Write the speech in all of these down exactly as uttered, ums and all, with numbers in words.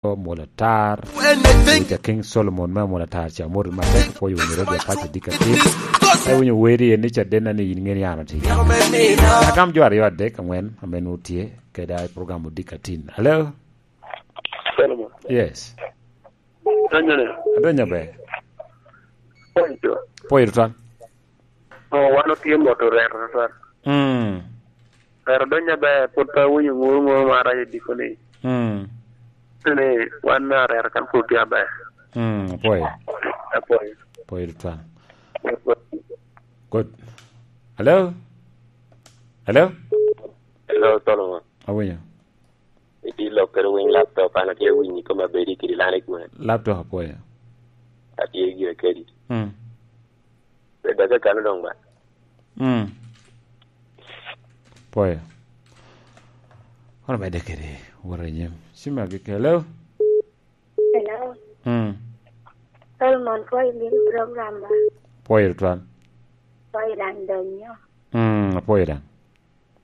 Mwol Atar, Mister King Solomon me Mwol Atar, ca mot matek, pwoyo winyo redio paco dika tin. Ka iwinyo weri en ni cadenna ni in ŋeni an otye. Agam jo aryo adek aŋwen ame nwoŋo tye keda i program odika tin. Hello? Solomon. Yes. Donyo ni. Adonyo be. Pwoyo. Pwoyo tutwal. Oh, wan otye moto rero tutwal. Mm. Rero donyo be put awinyo ŋuru ŋuru mara i diko ni. Mm. Ni wan na rero kan put tye aber. Mm, apwoyo. Apwoyo. Apwoyo tutwal. Good. Hello? Hello? Hello, Solomon. Awinyo. Itye lok kede winy laptop, an atye winyi koma bedi kidi lani gwen. Laptop apwoyo. Atye gire kedi. Mm. Bed ake kano dong ba. Mm. Pwoyo. Kono medde kede wot i nyim. Cim agi kelo. Hello. Mm. Solomon, pwoyo gin program ba. Pwoyo tutwal. Pwoyo dang donyo. Mm, apwoyo dang.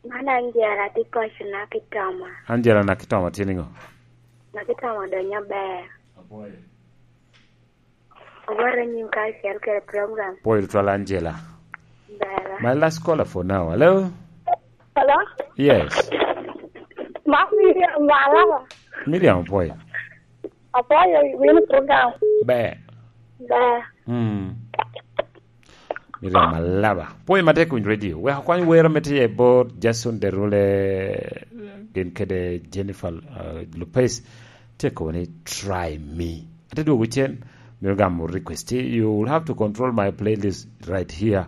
Man Angela tye koc na ki Toma. Angela na ki Toma tye niŋo? Na ki Toma donyo ber. Apwoyo. Awot anyim ka acel kede program. Pwoyo tutwal Angela. Bera. My last caller for now. Hello? Hello? Yes. Ma Miriam Malava. Miriam apwoyo. Apwoyo win program. Be. Be. Hmm. Miriam Malava. Pwoyo matek winy radio. Wek akwany wero me tye bot Jason Derule gin kede Jennifer uh, Lopez. Tye kobo ni try me. Ate dwogo cen. Miro gamo request. You will have to control my playlist right here.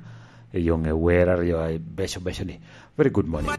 Yoŋe wer aryo beco beco ni. Very good morning.